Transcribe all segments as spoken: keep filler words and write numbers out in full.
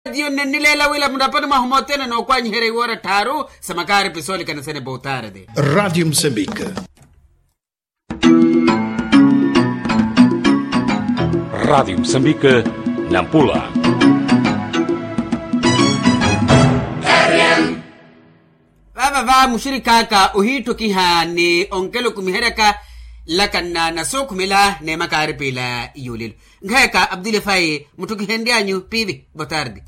Etiyo nnennileela wila muraponi mwahu mothene nookwanyiherya iwoora tthaaru sa makaaripi soolikanisene botarde. Ratio mosambika. Ratio mosambika, nampula. Vaava va muxirikhaaka ohiitthukiha ni onkelukumiheryaka nlakanna na sookhumela n'emakaaripi ila yuulelo. Nkhaaka abdulifai mutthukihenry'anyu piivi botarde.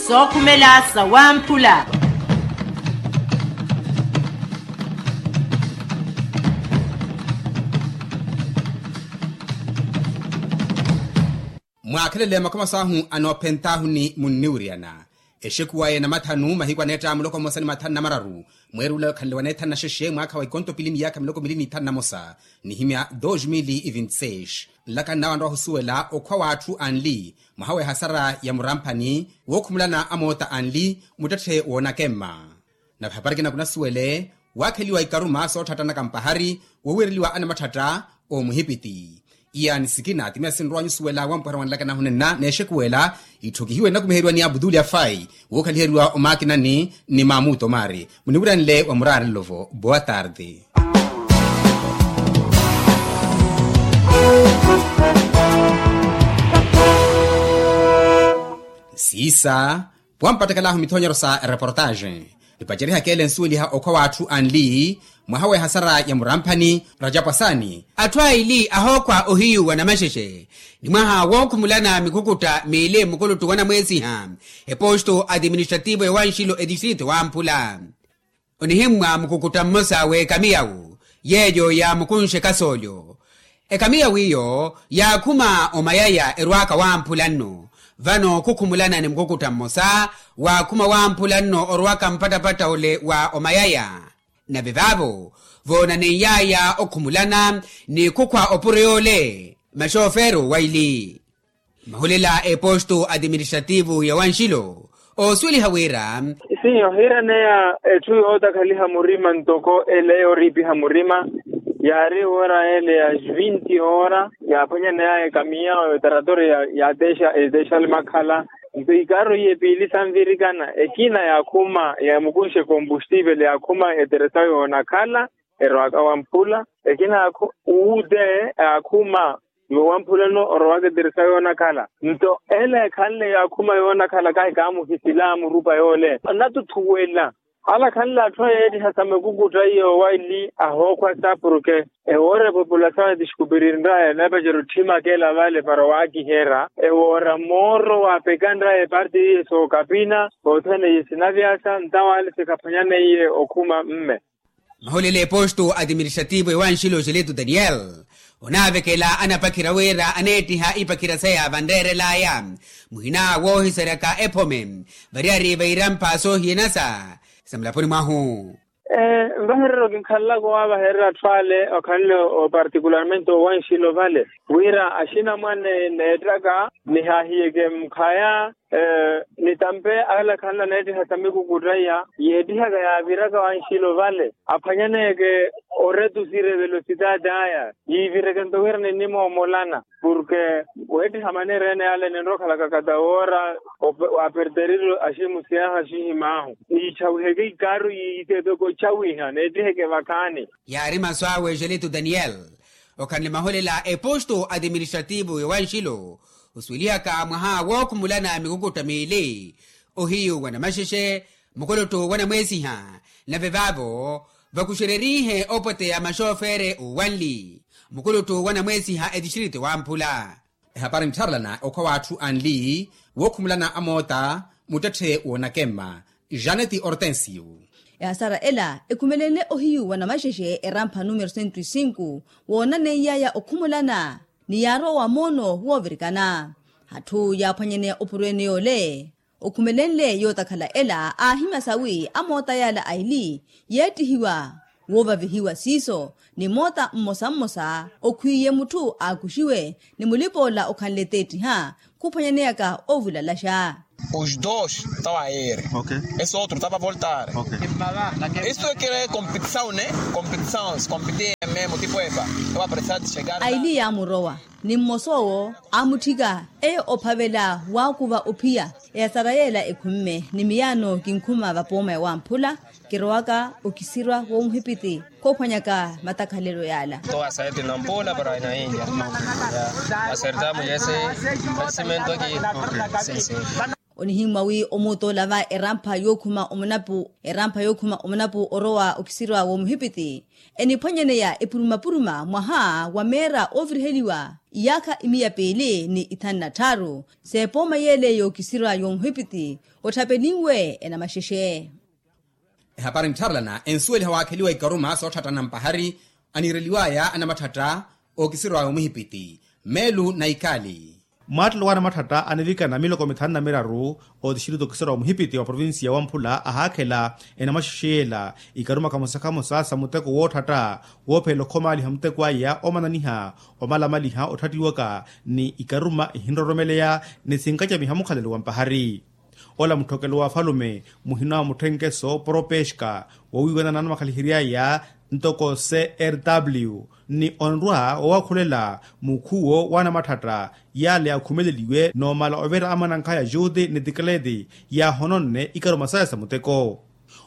Sookhumela sa wamphula. Mwaakhelele makhoma saahu anoophent'ahu ni munniwiryana. Exekuwa ya namathanu mahiku aneetta muloko mmosa ni mathanu na mararu mweerula okhanle waneethanu na xexe mwaakha wa ikonto pili miyaakha miloko mili n'ithanu na mosa nihimya dos mil e vinte seis. Nlaka nnawe anrowa ohusuwela okhwa w'atthu anli mwaha w'ehasara ya muramphani wookhumulana amoota anli muttetthe woonakemma. Nave hapari kinakunasuwele waakheliwa ikaruma sootthatta nakampahari wowiireliwa anamathatta omuhipiti. Iya ni sikina ti miya sinrow'anyu osuwela wampuherya wa nlakanahu nenna n'exekuwela itthukihiwe nnakumiheriwa ni abuduli afai wookhaliheriwa omaakinani ni mamuto mari muniwiranle wa muraarelo-vo boa tarde. Siisa wampattakalahu mithonyero sa reportaxe. Nipacerihaka ele nsuweliha okhwa w'atthu anli mwaha w'ehasara ya muramphani rajapwasani atthu aili ahookhwa ohiyu wa namaxexe ni mwaha wookhumulana mikhukutta miili mukuluttu wa namweesiha eposto administrativo ya wanxilo etistrito wamphula. Onihimmwa mukukutta mmosa w'ekamiyawu yeeyo yaamukunxe kasoolyo. Ekamiyawu iyo yaakhuma omayaya erwaaka wamphula nno. Vano khukhumulana ni mukukutta mmosa waakhuma wamphula nno orwaka mpattapatta ole wa omayaya. Nave vaavo voonaneiyaaya okhumulana ni khukhwa opuro yoole maxoofeero waili. Mahulela a eposto administrativo ya wanxilo oosuweliha wira. Isihi ohiiraneya etthu yootakhaliha murima ntoko ele yooriipiha murima. Yaari woora ele ya vinti hoora yaaphwanyaneyaya ekamiya oyo taratori yaateexa eteexa alimakhala. Nto ikaaro iye piili sanvirikana ekina yaakhuma yamukunxe kombustivel yaakhuma eteresa yoonakhala erowaka wamphula. Ekina yaakhu uute yaakhuma yowamphulano orowaka eteresa yoonakhala. Nto ele ekhanle yaakhuma yoonakhala kahi kaamuhisila murupa yoole. Natuthuwela ale akhanle atthu ayeettiha sa mikukutta iyo waili ahookhwa sa porke ewoora epopulasawe tixikupiririnraya eneepacerya otthimakela vale para waakiherya ewoora mooro waapeka nraya eparti iye sookapina othene iye sinavyasa ntawaale sikhaphwanyaneiye okhuma mme. Mahulela eposto administrativo ewanxilo xeleto daniel onaavekela anapakhira wira aneettiha ipakhira saya vanreerelaya muhina woohiseryaka ephome variyari vairampa soohiyanasa sa mulaponi mwahu. Nvahererya okinkhalelaka owaavahererya atthu ale okhanle opartikularmente owanxilo vale wira axinamwane neettaka nihaahiyeke mkhaya nitampe ale akhanle aneettiha sa mikukutta iya yeettihaka yaaviraka wanxilo vale aphwanyaneke oretusire velositaati aya yiivireke nto wira ninnimoomolana porke weettiha maneera ene ale ninrokhalaka kata woora waaperterire aximusiyahu axihimaahu niichawiheke ikaaru yiitepeke ochawiha neettiheke vakhaani. Yaari masu awe exeleto daniel okhanle mahulela a eposto administrativo yowanxilo osuwelihaka mwaha wookhumulana mikukutta miili ohiyu wa namaxexe mukuluttu wa namweesiha nave vaavo vakuxererihe opweteya maxoofere owanli mukuluttu wa namweesiha etistrito wamphula. Ehapari nttharelana okhwa w'atthu anli wookhumulana amoota muttetthe woonakemma janeti ortensio. Ehasara ela ekhumelenle ohiyu wa namaxexe erampha numero sento e sinku woonaneiyaya okhumulana ni yaarowa moono woovirikana atthu yaaphwanyaneya opuro ene yoole. Okhumelenle yootakhala ela aahimya sawi amoota yaala aili yeettihiwa woovavihiwa siiso ni moota mmosa mmosa okhwiiye mutthu aakuxiwe ni mulipoola okhanle teettiha khuphwanyaneyaka ovulalaxa. Os dos tava a ere. Ese otro tava a voltare. Isto ekere kompetisaw ne kompetisaw kompeti ememo tipo epa. Tava a presati chegar aili yaamurowa ni mmosa owo aamutthika. Eyo ophavela waakuva ophiya eyasara yeela ekhumme ni miyaano kinkhuma vapooma ya wamphula. Kirowaka okisirwa w'omuhipiti khoophwanyaka matakhalelo yaala. Towa aserti nampula para inainja. Asertamu yese. Asimento ki. Onihimmwa wi omuutola va erampha yookhuma omunapu erampha yookhuma omunapu orowa okisirwa w'omuhipiti. Eniphwanyaneya epurumapuruma mwaha wa meera ooviriheliwa iyaakha imiya piili ni ithanu na tthaaru. S'epooma yeele y'okisirwa y'omuhipiti otthapelinwe enamaxexe. Ehapari nttharelana ensuweliha waakheliwa ikaruma sootthatta nampahari aniireliwaya anamatthatta. Ookisirwaya omuhipiti meelu na ikali. Mwaattelo w'anamatthatta anivikana miloko mithanu na miraru ootistiritu ookisirwaya omuhipiti wa provincia wamphula ahaakhela enamaxexe yeela ikaruma khamosa khamosa sa muteko wootthatta. Woophelela okhomaaliha muteko aya omananiha omalamaliha otthattiwaka ni ikaruma ihinroromeleya ni sinkacamiha mukhalelo wa mpahari. Ola mutthokelo wa afalume muhina wa mutthenkeso propeska wowiiwana n'anamakhalihery'aya ntoko crw ni onrwa wowakhulela mukhuwo w'anamatthatta yaale yakhumeleliwe n'omala ovira amwanankhaya juti ni tikleti yaahononne ikaruma saya sa muteko.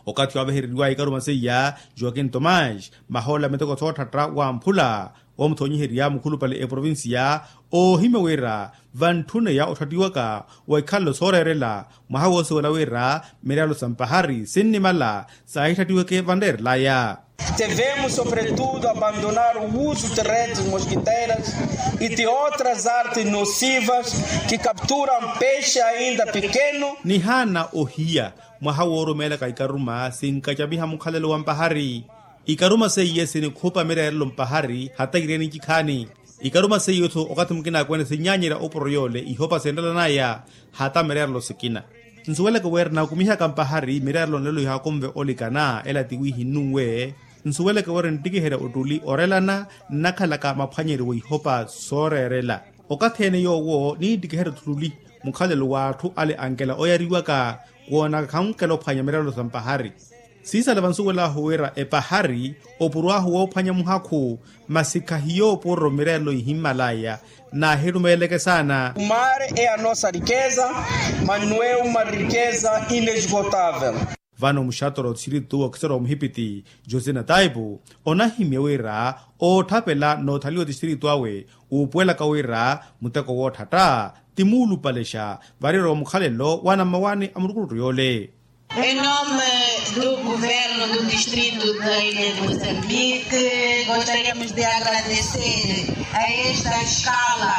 Okathi waavehereriwaya ikaruma seiya joakin tomas mahoola miteko sootthatta wamphula woomuthonyiherya mukhulupale eprovincia oohimya wira vantthuneya otthattiwaka wa ikhalelo sooreerela mwaha woosuwela wira mireelo sa mpahari sinnimala saahitthattiweke vanreerelaya. Tivemos sobretudo abandonar o uso de redes mosquiteiras e de outras artes nocivas que capturam peixe ainda pequeno. Nihaana ohiya mwaha woorumeelaka ikaruma sinkacamiha mukhalelo wa mpahari. Ikaruma seiye sinikhupa mireerelo mpahari hata ireeni ncikhaani. Ikaruma seiye-tho okathi mukina akwene sinnyanyerya opuro yoole ihopa sinrelanaya hata mireerelo sikina. Nsuweleke wira nakumihaka mpahari mireerelo nlelo ihaakunve olikana ela tiwiihi nnunwe. Nsuweleke wira nittikiherya ottuli orelana nnakhalaka maphwanyeryo wa ihopa sooreerela. Okathi-ene yoowo niittikiherya ottuli mukhalelo w'atthu ale ankela oyariwaka woonaka khankela ophwanya mireerelo sa mpahari. Siisala vansuwel'ahu wira epahari opuro ahu woophwanya muhakhu masi khahiyo opuro mireerelo ihimmalaya. Naahirumeeleke saana. O mar é a nossa riqueza, mas não é uma riqueza inesgotável. Vano muxatora othixirituwa okisera wa muhipiti josina taipu onahimya wira ootthapela n'othaliwa othixirituwa awe uupuwelaka wira muteko wootthatta ti muulupalexa variro wa mukhalelo wa anammawaani a murukurutu yoole. Em nome do governo do distrito da ilha de moçambique, gostaríamos de agradecer a esta escala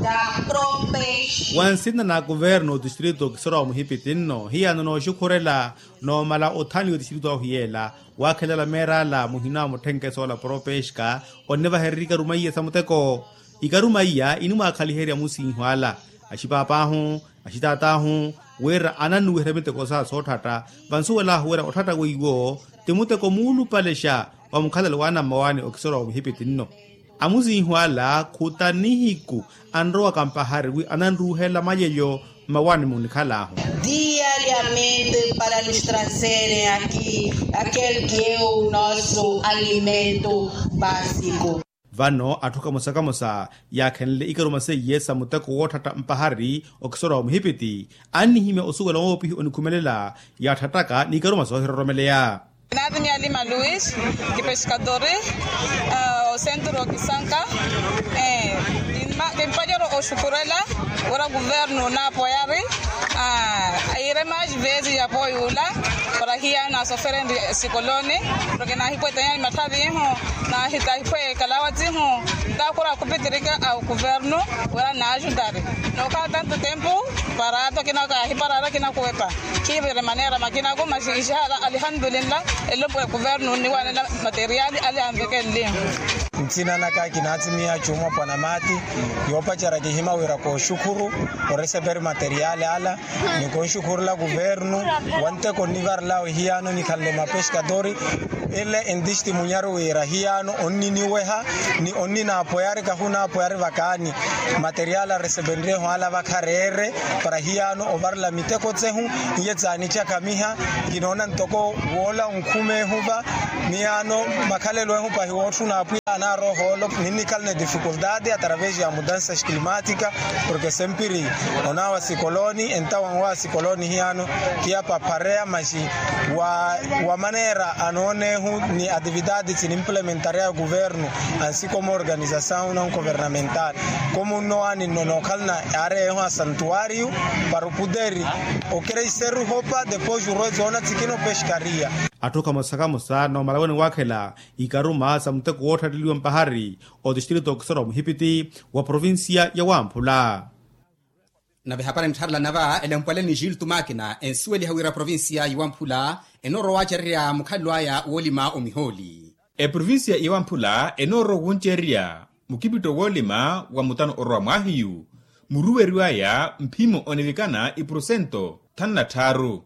da propes. Wa nsina na kuverno otistrito okisera wa muhipiti nno hiyaano nooxukhurela noomala othanliwa otistrito ahu yeela waakhelela meer'ala muhina wa mutthenke soola propexka onnivahererya ikaruma iya sa muteko. Ikaruma iya inimwaakhaliherya amusiihu ala, axipaapahu, axitaat'ahu, wira anannuwiherya miteko sa sootthatta. Vansuwel'ahu wira otthatta weiwo ti muteko muulupalexa wa mukhalelo wa anammawaani okisera wa muhipiti nno. Amusiihu ala khuta nihiku anrowaka mpahari wi ananruuhela malyeyo mmawaani munikhal'ahu. Diariamente para nos trazerem aqui aquel que é o nosso alimento básico. Vano atthu kamosa kamosa yaakhenle ikaruma seiye sa muteko wootthatta mpahari okisera wa muhipiti annihimya osuwela woopihi onikhumelela yaatthattaka n'ikaruma soohiroromeleya. Naatimiya lima luis kipexkadori osenturu okisanka. Kimpanyoro oxukurela wira kuvernu naapoyari aire mais vezi ya poyula para hiya nasoferenri sikoloni. Porke naahiphwe tanyani mathavihu naahiphwe kalawatihu. Ntakhura khupitirika a kuvernu wira naajutari nookhala tanto tempu para ato akina kaahiparari akina kuwepa. Khiivire manera makinaku maxixixala alihandulinla. Elopwe kuvernu onniwanela materiali ali anvekenlihu. Sinanaka kinatsimiya chuma pwanamati, yoopacerya kihima wira kooxukhuru oreseperi materiali ala, ni konxukhurula kuvernu wanteko nnivarelawe hiyano nikhanle mapescadori. Ele entistimunyaru wira hiyano onniniweha ni onninaapoyari kahunaapoyari vakaani materiali aresepenryeho ala vakhareere para hiyano ovarela miteko tsehu. Iye tsaanicakhamiha kinoona ntoko woola onkhumeehuva. Miyano makhalelo ehu pahi wootthuna apwiya anaaroha olo. Ninnikhala ni difikultati atravesi ya mudansa climatika porke sempiri onaawa sikoloni entawa nwawa sikoloni hiyano kiyapaphareya maxi wa maneera anoonehu ni atividati tsinimpulementarya ya kuvernu ansi komu organisasawu na nkuvernamentali komu nnowaninno nookhalana aareyehu asantuwariyu para oputeri okereiseru hopa depois urwetsi oona tsikina opexkariya. Atthu kamosa kamosa noomala wene waakhela ikaruma sa muteko wootthatteliwa mpahari otistritu okiserwa muhipiti wa provincia ya wamphula. Nave hapari nttharelana va elempwale ni gilto makina ensuweliha wira provincia ya wamphula enoorowa waacererya mukhalilu aya woolima omihooli. Eprovincia ya wamphula enoorowa wuncererya mukipitto woolima wa mutano orowa mwaahiyu muruweriwaya mphimo onivikana ipurusento thanu na tthaaru.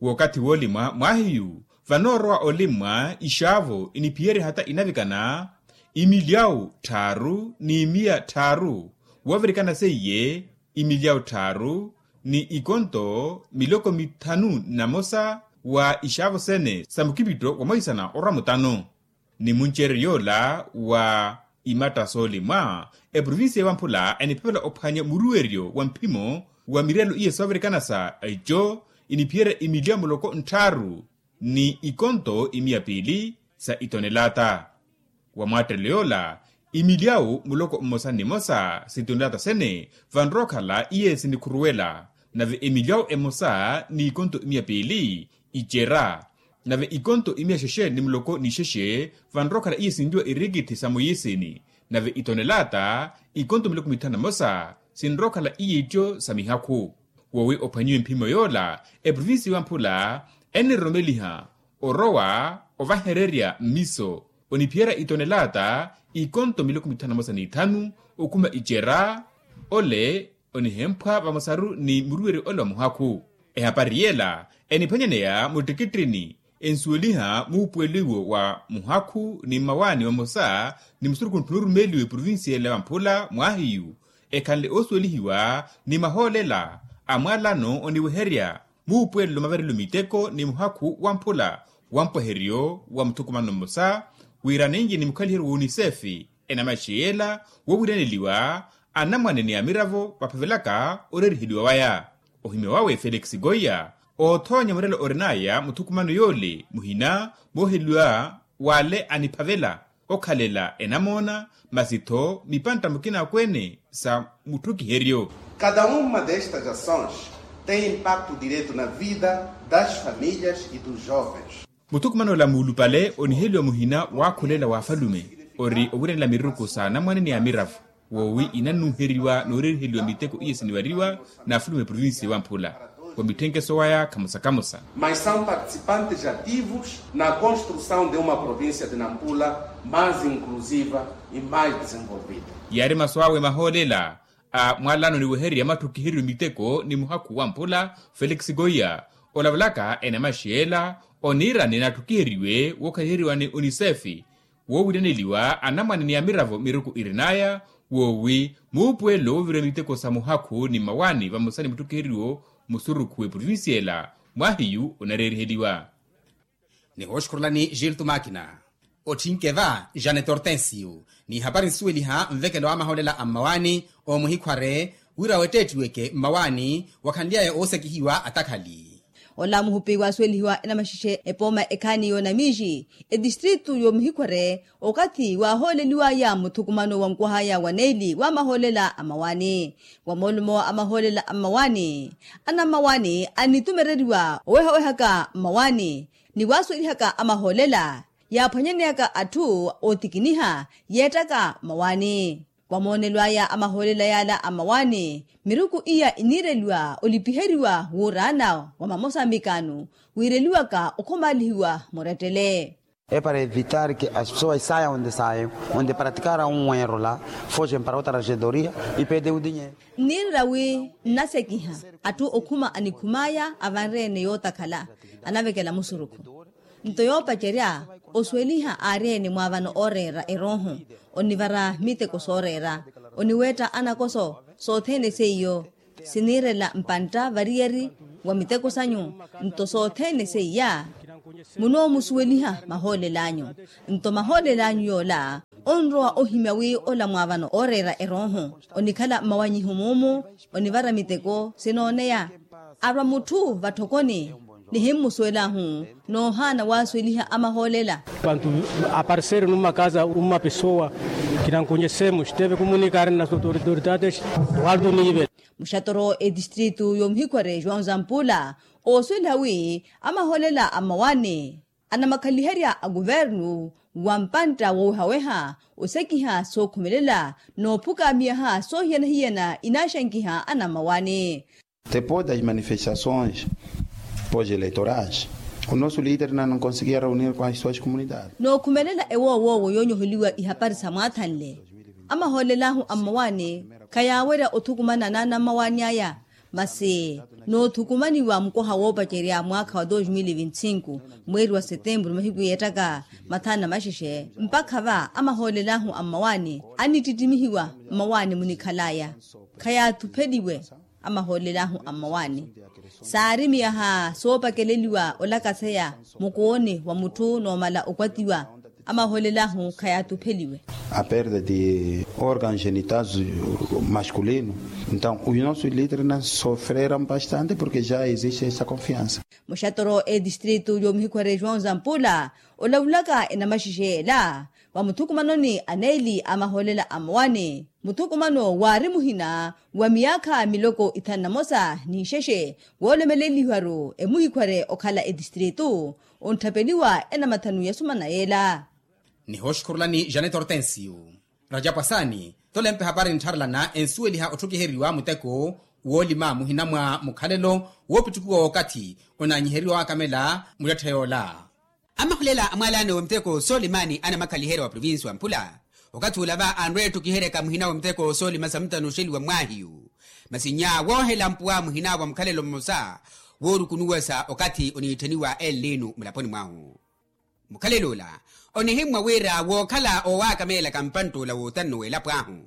Wookathi woolima mwaahiyu vanoorowa olimmwa ixaavo iniphiyerya hata inavikana imilyawu tthaaru ni miya tthaaru woovirikana seiye imilyawu tthaaru ni ikonto miloko mithanu na mosa wa ixaavo sene sa mukipitto wa mwahisana orwa mutano. Ni munceryo yoola wa imatta soolimwa eprovincia ya wamphula eniphevela ophwanya muruweryo wa mphimo wa mirelo iye soovirikana sa ico iniphiyerya imilyawu muloko ntthaaru ni ikonto imiya piili sa itonelata. Wa mwattelelo yoola imilyawu muloko mmosa ni mmosa sa itonelata sene vanrowa okhala iye sinikhuruwela nave emilyawu emosa ni ikonto imiya piili icera nave ikonto imiya xexe ni muloko ni xexe vanrowa okhala iye sinliwa irikithi sa muyisini nave itonelata ikonto miloko mithanu na mosa sinrowa okhala iye ittyo sa mihakhu. Woowi ophwanyiwe mphimo yoola eprovincia ya wamphula eniroromeliha orowa ovahererya mmiso oniphiyerya itonelata ikonto miloko mithanu na mosa ni ithanu okhuma icera ole onihemphwa vamosaru ni muruweryo ole wa muhakhu. Ehapari yela eniphwanyaneya muttikittini ensuweliha muupuwelo iwo wa muhakhu ni mmawaani vamosa ni musurukhu ntthu noorumeeliwa eprovincia ela ya vamphula mwaahiyu ekhanle oosuwelihiwa ni mahoolela a mwalano oniweherya muupuwelo mavarelo miteko ni muhakhu wamphula wa mpweheryo wa muthukumano mmosa wira ninji ni mukhaliheryo wa unisefi enamaxi yela woowiraneliwa anamwane ni amiravo vaphavelaka oreeriheliwa waya. Ohimya wawe felix goia oothoonya murelo orinaya muthukumano yoole muhina mooheliwa wale aniphavela okhalela enamoona masi-tho mipantta mukina akweene sa mutthukiheryo. Cada uma destas ações tem impacto direto na vida das famílias e dos jovens. Muthukumano ola muulupale oniheliwa muhina waakhulela wa afalume ori owiranela miruku sa anamwane ni amiravo woowi inanuuheriwa nooreeriheliwa miteko iye siniwariwa n'afulume provincia ewamphula wa mitthenkeso waya khamosa khamosa. Mas são participantes ativos na construção de uma província de nampula mais inclusiva e mais desenvolvida. Yaari masu awe mahoolela a mwalano niwehererya matthukiheriwe miteko ni muhakhu wamphula felix goia olavalaka enamaxi ela oniirani natthukiheriwe wookhaliheriwa ni unicef woowiraneliwa anamwane ni amiravo miruku irinaya woowi muupuwelo woovira miteko sa muhakhu ni mmawaani vamosa ni mutthukiheriwo musurukhu w'eprovincia ela mwaahiyu onareeriheliwa. Nihooxukhurulani gilto makina otthinke va janet hortensio n'ihapari nsuweliha nvekelo wa amahoolela a mmawaani omuhikhware wira wetteettiweke mmawaani wakhanly'aya oosekihiwa atakhali. Ola muhupi waasuwelihiwa enamaxexe epooma ekhaani y'onamiixi etistritu y'omuhikhware okathi waahooleliw'aya muthukumano wa nkwah'aya wa neeli w'amahoolela a mmawaani wa moolumo a mahoolela a mmawaani anammawaani anitumereriwa owehawehaka mmawaani ni waasuwelihaka amahoolela yaaphwanyaneyaka atthu ootikiniha yeettaka mmawaani. Wa moonelo aya a mahoolela yaala a mmawaani miruku iya iniireliwa olipiheriwa wuuraana wa mamosambikano wiireliwaka okhomaalihiwa murettele. É para evitar que as pessoas saiam onde saiam, onde praticaram um erro lá, fogem para outra regedoria e pedem o dinheiro. Nniirira wi nnasekiha atthu okhuma anikhum'aya avanre-ene yootakhala, anavekela musurukhu. Nto yoopacerya osuweliha aari-ene mwaavano ooreera erooho, onivara miteko sooreera, oniweetta anakoso, sothene seiyo siniirela mpantta variyari wa miteko sanyu. Nto sothene seiya munoomusuweliha mahoolel'anyu. Nto mahoolel'anyu yoola onrowa ohimya wi ola mwaavano ooreera erooho, onikhala mmawanyiho muumu, onivara miteko sinooneya. Arwa mutthu vatthokoni nihimmusuwel'ahu, noohaana waasuweliha amahoolela. Pantu aparseri numakaza uma pesowa, kinankonyesemuxi teve kumunikari na sotoridoritatex. Waldo nive. Muxatoro etistritu yomuhikhwere joão zampula, oosuweliha wi amahoolela a mmawaani anamakhaliherya a kuvernu wa mpantta woowehaweha osekiha sookhumelela, noophuka miyaha soohiyana-hiyana inaaxankiha anammawaani. Depois das manifestações pós-eleitorais, o nosso líder não conseguia reunir com as suas comunidades. Nookhumelela ewoowoowo yoonyoheliwa ihapari sa mwaathanle, amahoolel'ahu a mmawaani khayaawerya othukumana n'anammawaani aya. Masi noothukumaniwa mukoha woopacerya mwaakha wa dos mil e vinte e cinco, mweeri wa setemburu mahiku yeettaka mathanu na maxexe mpakha va amahoolel'ahu a mmawaani anittittimihiwa. Mmawaani munikhal'aya khayathupheliwe. Amahoolel'ahu a mmawaani saari miyaha soopakeleliwa olakaseya mukooni wa mutthu noomala okwatiwa. Amahoolel'ahu khayathupheliwe. A perda de organs genitais masculino. Então os nossos líderes sofreram bastante porque já existe essa confiança. Muxatoro etistritu yomuhikhwere joão zampula olavulaka enamaxexe ela va muthukumanoni aneeli a mahoolela a mmawaani. Muthukumano waari muhina wa miyaakha miloko ithanu na mosa n'ixexe, woolomeleliwaru emuhikhwere okhala etistritu, ontthapeliwa enamathanu ya sumana yeela. Nihooxukhurulani janet hortensio. Rajapwasaani tolempe hapari nttharelana ensuweliha otthukiheriwa muteko woolima muhina mwa mukhalelo woopittukiwa wookathi onaanyiheriwa waakamela muyatthe yoola. Amahulela a mwalaano wa muteko soolimani anamakhaliherya wa provincia wa mpula okathi ula va anrwe ettukiheryaka muhina wa muteko soolima sa mutano oxeliwa mmwaahiyu. Masi nnya woohela mpuwa muhina wa mukhalelo mmosa woorukunuwasa okathi oniitthaniwa elnino mulaponi mwahu. Mukhalelo ula onihimmwa wira wookhala owaakameelaka mpantt'ula wootanno w'elapo ahu.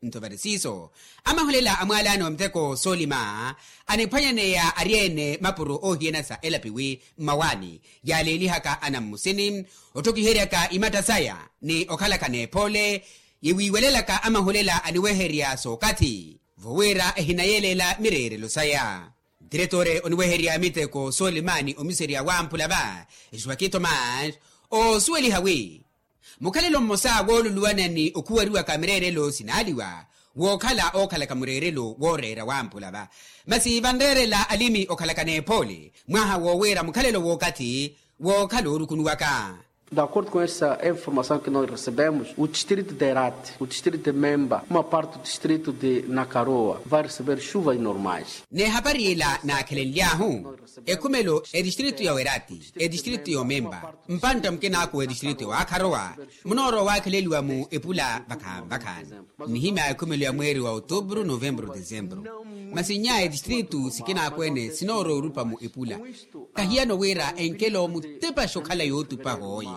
Nto vari siiso amahulela a mwalaano wa muteko soolima aniphwanyaneya ari-ene mapuro oohiyana sa elapiwi mmawaani yaaleelihaka anammusini otthukiheryaka imatta saya ni okhalaka n'ephoole yiwiiwelelaka amahulela aniweherya sookathi vowira ehinayeleela mireerelo saya. Diretore oniweherya miteko soolimaani omiserya wamphula va esuwaki tomás oosuweliha wi mukhalelo mmosa wooluluwana ni okhuwariwaka mireerelo sinaaliwa wookhala ookhalaka mureerelo wooreera wamphula va masi vanreerela alimi okhalaka n'ephoole mwaha woowira mukhalelo wookathi wookhala oorukunuwaka. D'acordo com essa informação que nós recebemos o distrito de herati o distrito de memba uma parte do distrito de nakaroa vai receber chuvas normais. N'ehapari ila naakhelenly'ahu ekhumelo etistritu ya werati etistritu ya omemba mpantta mukinaaku wa etistritu ya waakharowa munoorowa waakheleliwa mu epula vakhaani vakhaani. Nnihimya ekhumelo ya mweeri wa otubru novembru desembru masi nnya etistritu sikinaaku-ene sinoorowa orupa mu epula. Kahiyano wira enkelo mutepaxe okhala yootupa hooye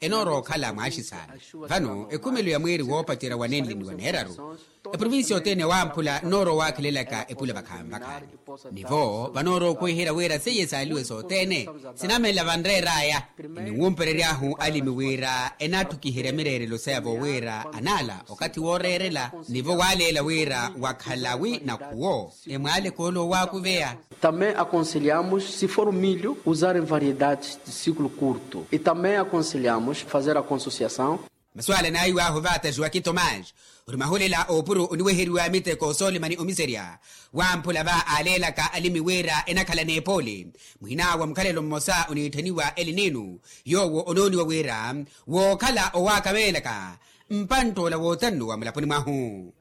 enoorowa okhala mwaaxisaana. Vano ekhumelo ya mweeri woopacerya wa nenli ni wa neeraru eprovincia othene wamphula nnoorowa waakhelelaka epula vakhaani vakhaani nivo vanoorowa okhuweherya wira seiye saaliwe sothene sinamelela vanreer'aya. Eniwumperery'ahu alimi wira enatthukiherya mireerelo saya vowira anaala okathi wooreerela nivo waaleela wira wakhala wi nakhuwo emwaaleke ole owaakuveya. Também aconselhamos se for milho usarem variedades de ciclo curto e também aconselhamos fazer a consociação. Masu ala naahiw'ahu vaataxiwa ki tomás ori mahulela oopuro oniweheriwa miteko soolimani omiserya wamphula va aaleelaka alimi wira enakhala n'epoole muhina wa mukhalelo mmosa oniitthaniwa elinino yoowo onooniwa wira wookhala owaakameelaka mpantt'ola wootanno wa mulaponi mwahu.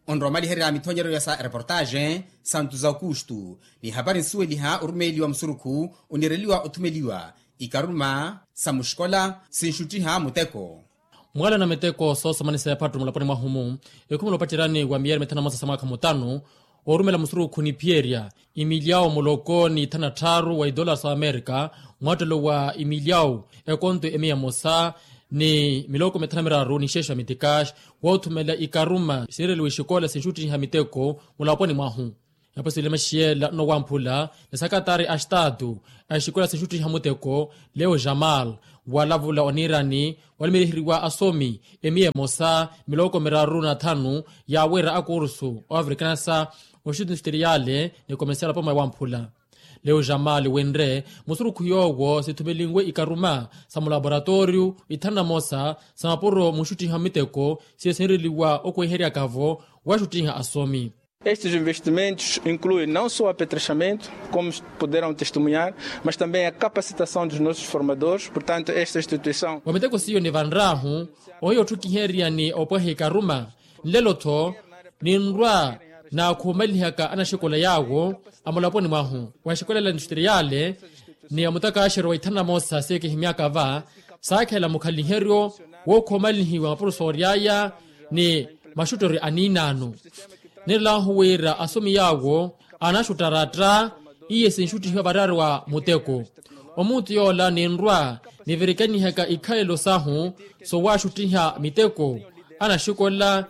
Onrowa omaliherya mithonyereryo sa reportaxe santos aukustu ni hapari nsuweliha orumeeliwa musurukhu onireliwa othumeliwa Ikaruma sa muxikola sinxuttiha muteko. Mwaalana miteko soosomanisa ephattu mulaponi mwahu-mu, ekhumela opacerani wa miyeeri mithanu na mosa sa mwaakha mutanu, oorumela musurukhu ni phiyerya imilyawu muloko ni thanu na tthaaru wa idolara sa amerika, mwaattelo wa imilyawu ekonto emiya emosa ni miloko mithanu na miraru ni xeexa mitikaxi, woothumela ikaruma siireliwa exikola sinxuttiha miteko mulaponi mwahu. Yaapasile maxiyela nnowamphula ni sakatari a xitaatu a exikola sinxuttiha muteko, leo jamal, walavula oniirani walimeliheriwa asomi emiya emosa miloko miraru na thanu, yaawira akursu oavrikanasa oxuti nxutteriyale ni komesiala poma yawamphula. Leo jamal winre musurukhu yoowo sithumelinwe ikaruma sa mulaboratoriyu ithanu na mosa sa mapuro munxuttiha miteko siye sinreliwa okweheryaka-vo waxuttiha asomi. Estes investimentos incluem não só apetrechamentu, como puderam testemunhar, mas também a capacitação dos nossos formadores. Portanto, esta instituição. Wa miteko siyo nivanrahu ohiya otthukiherya ni opwaha ikaruma nlelo-tho ninrwa naakhumalihaka anaxikola yaawo amulaponi mwahu wa exikola la industriyale ni amutakaxeryo wa ithanu na mosa siye kihimyaka va saakhela mukhaliheryo wookhoomalihiwa mapurusoori aya ni maxutteryo aniinaano. Niilalahu wira asomi yaawo anaxuttaratta iye sinxuttihiwa variyari wa muteko. Omuutu yoola ninrwa nivirikanihaka ikhalelo sahu soowaxuttiha miteko anaxikola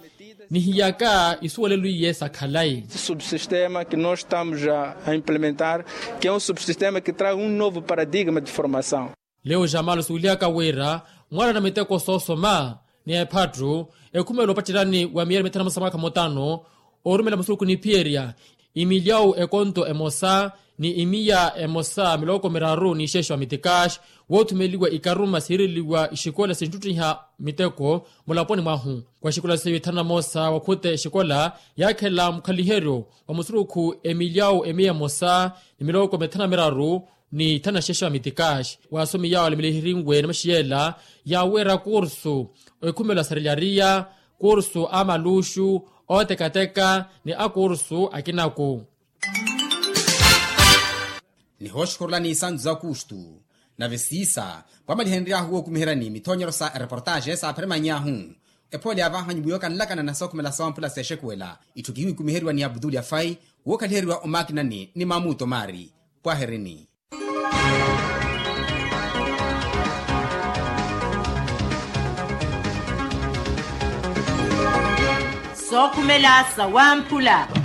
nihiyaka isuwelelo iye sa khalayi. Subsistema que nós estamos a implementar, que é um subsistema que traz um novo paradigma de formação. Leo jamalo suwelihaka wira mwaalana miteko soosoma ni ephattu ekhumela opattelani wa miyeeri mithanu na mosa mwaakha mutano oorumela musurukhu niphiyerya imilyawu ekonto emosa ni imiya emosa miloko miraru ni ixeexa wa mitikaxi woothumeliwa ikaruma siireliwa ixikola sinxuttiha miteko mulaponi mwahu. Wa xikola seiyo ithanu na mosa wakhuta exikola yaakhela mukhaliheryo wa musurukhu emilyawu emiya emosa ni miloko mithanu na miraru ni thanu na xeexa wa mitikaxi waasomi yaawo alimiliherinwe ni maxiyela yaawira kursu ekhumelo asarelariya kursu amaluxu ootekateka ni akursu akinaku. Nihooxukhurulani isantu za kustu nave siisa pwamalihenry'ahu wookumiheryani mithoonyero sa ereportaxe saaphirimanny'ahu. Ephoole ya vahanyu mwiyo kanlakana na sookhumela sawamphula seexekuwela itthu kihiwikumiheriwa ni abdul yafai wookhaliheryiwa omakinani ni mamuto maari. Pwaherini. Sookhumela sawamphula.